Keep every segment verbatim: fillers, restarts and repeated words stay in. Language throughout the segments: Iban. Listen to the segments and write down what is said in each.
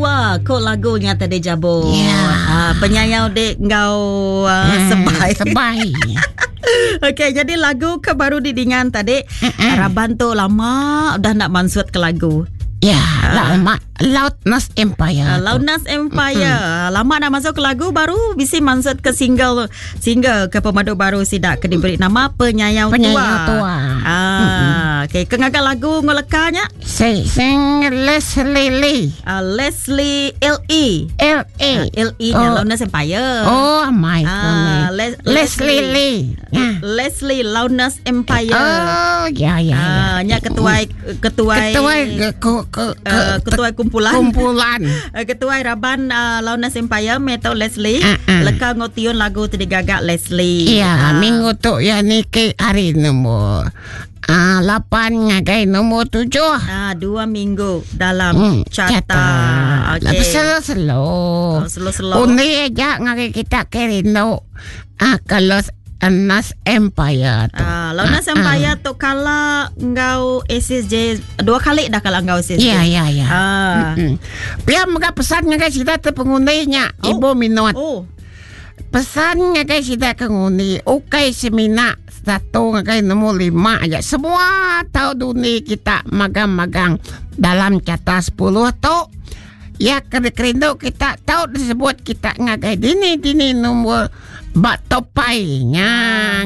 Tua ko lagunya tadi Jabo. Ya. Ah, penyayau dek ngau uh, Hmm, sebai. Sebai. Okey, jadi lagu ke baru didingan tadi Mm-mm. Raban tu lama udah nak mansut ke lagu. Ya, lama Loudness Empire. Uh, Loudness Empire. Mm-hmm. Lama nak masuk ke lagu baru bisi mansut ke single single ke pemadu baru sidak ke diberi nama Penyayau, Penyayau Tua. Tua. Ah, okey, ke ngagak lagu ngolekanya Si sing Leslie Lee. uh, Leslie L E. L A. L E nya Oh. Loudness Empire. Oh my Ah, goodness. Les- Leslie Lee. Ya. Leslie Loudness Empire. Oh, ya ya ya. Ah, nya ketuai ketuai Ketua ke ke ke, uh, ketuai kumpulan. kumpulan. Uh, Ketua Raban uh, Loudness Empire Metal Leslie Ah, ah. leka ngotion lagu tu digagak Leslie. Ya, Ah. minggu tu ya ni ke hari nombor ah lapan ngagai nombor tujuh. Ah, dua minggu dalam Hmm, carta. Okey. Tapi slow-slow. Oh, slow-slow. Undi aja ngagai kita ke rindu. Ah, kalau Nas Empire tu. Ah, Loudness Empire tu kala ngau S S J dua kali dah kala ngau S S J. Ya, ya, ya. Ah. Hmm. Biar mega pesan ngagai sida te pengundinya Oh. Ibu minot. Oh, Pesan ngagai sida ke ngundi ukai semina satu ngagai nombor lima aja. Semua tahu dunia kita magang-magang dalam carta sepuluh tu. Ya kena kerindu kita tahu disebut kita ngagai dini dini nombor bak topai nya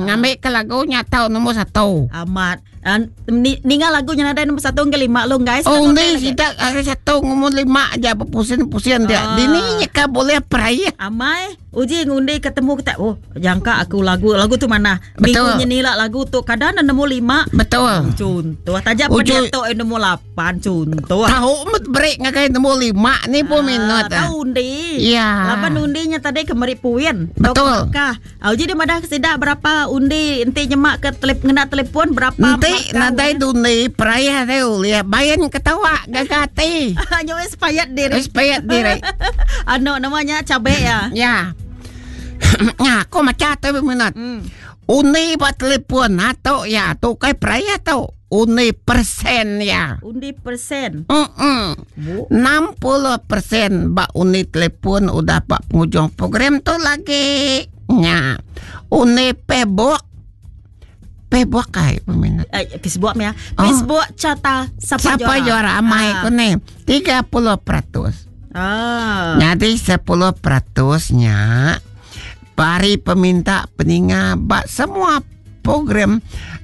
ngambil ke lagunya tahu nombor satu. amat. Ah, ni, ninga lagunya nada nombor satu ke lima lu guys. Oh ni sida hari satu nombor lima aja berpusing-pusing dia. Ah. Dini nya boleh peraya. Amai, uji ngundi ketemu kita. Oh, jangka aku lagu lagu tu mana? Betul. Minggu ni lah lagu tu kadang nombor lima. Betul. Contoh tajam Uji- pada tu eh, nombor lapan contoh. Tahu met break ngagai nombor lima ni pun minat. Ah, tahu undi. Ya. Lapan undinya tadi kemeri puin. Betul. Kah. Ah, uji dia madah sida berapa undi enti nyemak ke telep ngena telefon berapa Nanti markah nadai undi. dundi peraya deu lihat bayan ketawa gagati. Nyo wis payat diri. Wis payat diri. Ano namanya cabe ya. Ya. Ya, aku macam tu minat. Hmm. Undi buat telefon atau ya tu kai peraya tu. Undi persen ya. Undi persen. Mm-mm. Bu. enam puluh persen bak undi telefon udah pak penghujung program tu lagi. Ya. Undi pebok. Pebok kai peminat. Eh, Facebook ya. Oh. Facebook carta siapa, Siapa juara amai Ah. ku ni? tiga puluh peratus. Ah. Jadi sepuluh peratusnya bari peminta peninga bak semua program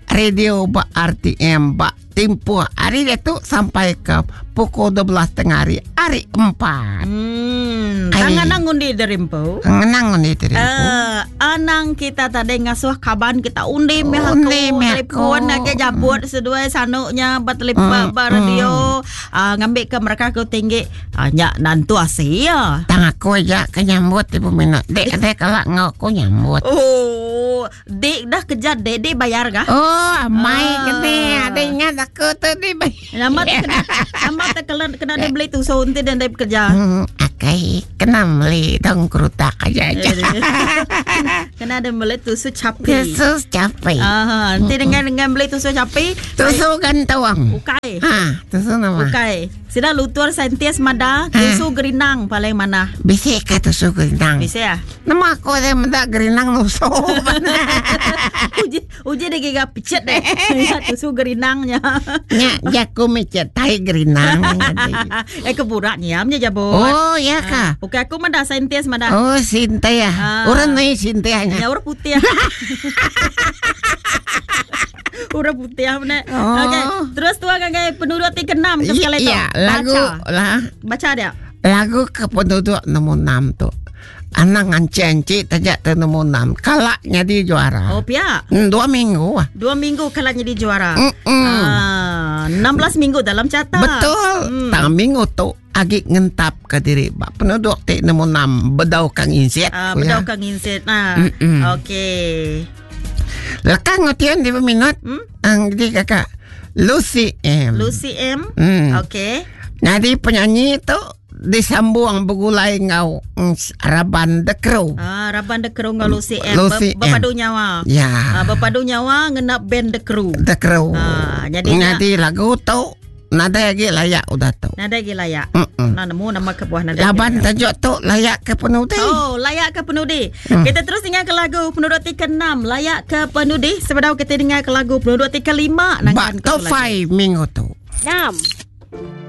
radio bak R T M bak tempoh hari dia tu sampai ke pukul dua belas tengah hari hari empat. Hmm. Ai. Tangan nang undi derimpo. Ngenang ni tadi. Eh, anang kita tadi ngasuh kaban kita undi meh aku Undi meh aku. telefon nak jabut seduai sanuknya bat telefon Mm, ba radio ah, ngambil ke mereka ke tinggi ah, nyak nantu asia. Tang aku aja ke nyambut ibu minat. Dek dek kalau ngau aku nyambut. Oh, dek dah kejar dek dek bayar kah? Oh, amai Ah. kene ada ingat aku tu di Nama tu kena nama tu kena kena dia beli tu so nanti dan dia bekerja. Hmm, akai kena beli dong kerutak aja aja. Kena ada beli tusuk capi. Yesus capek. Ah, nanti dengan dengan beli tusuk capi, Tusuk gantuang. ukai. Ha, tusuk nama. Ukai. Sida lutur saintis mada tusuk gerinang paling mana? Bisik ka tusuk gerinang. Bisa ya? Nama aku ada mendak gerinang nusuk. Uji uji dia giga picet deh. Ya, tusuk gerinangnya. Nya, jaku micet tai gerinang. Eh keburaknya amnya jabot. Oh, ya ka. Oke, aku mada saintis mada. Oh, sinta ya. Ah. Orang ni sinta nya. Ya orang putih. Orang putih mana? Oh. Okey, terus tuan gagai penduduk ti keenam ke sekali tu. Ya, lagu Baca. lah. Baca dia. Lagu ke penduduk nombor enam tu. Anak anci-anci tajak tu nombor enam. Kalaknya di juara. Oh, pia. Hmm, dua minggu ah. Dua minggu kalah jadi juara. Mm-mm. Ah, enam belas minggu dalam carta. Betul. Hmm. Tang minggu tu agi ngentap ke diri bak penduduk ti nombor enam bedau kang insiat. Ah, ku ya. bedau kang insit. Nah. Mm-mm. Okey. Lekang ngotian di peminat. Hmm? Ang di kakak Lucy M. Lucy M. Hmm. Okey. Jadi penyanyi tu disambung bergulai ngau mm, Raban The Crow. Ah, Raban The Crow ngau Lucy M. Lucy Ber- berpadu nyawa. Ya. Ah, berpadu nyawa ngenap band The Crew. The Crow. Ah, jadi Jadi lagu tu Nadai lagi layak udah tu. Nadai lagi layak. Mm-mm. Nah, nemu nama kebuah nadai. Laban lagi layak. tajuk tu layak ke penudi. Oh, layak ke penudi. Hmm. Kita terus dengar ke lagu penuduk ti keenam, layak ke penudi. Sebedau kita dengar ke lagu penuduk ti kelima Bak top five minggu tu. Enam.